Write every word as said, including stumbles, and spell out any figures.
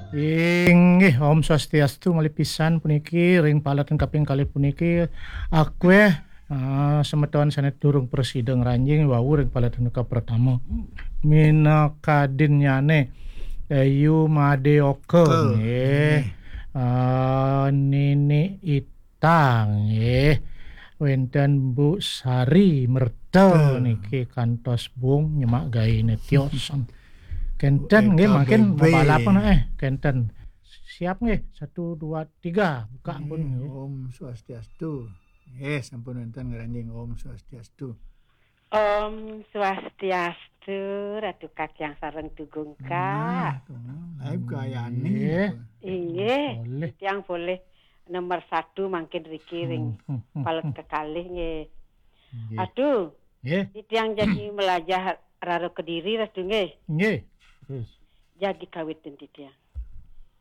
Inggih, Om Swastiastu malih pisan puniki ring paletan kaping kalih puniki. Akweh, ah, semeton sane durung prasida ngranjing wau ring paletan kapratama. Minakadinnyane Ayu Madeoka, nggih. Ah, Nini Ita, nggih. Wenten Bu Sari Merta niki kantos bung nyemak gaene tios. Kenten nggih, mangkin mabalapan, eh, kenten. Siap nggih, satu, dua, tiga, buka ampun nggih. Om Swastiastu. Nggih, sampun wenten ngranjing. Om Swastiastu. Om Swastiastu, Ratu Kakyang sareng Tugung, Kak. Nah, tuh, nah, live gayane. Nggih. Inggih, boleh. Tiang boleh nomor satu mangkin riki ring palet kekalih nggih. Nggih. Aduh, nggih. Titiang jagi melajah rara Kediri, Ratu nggih. Nggih. Terus. Jagi kawitin titiang.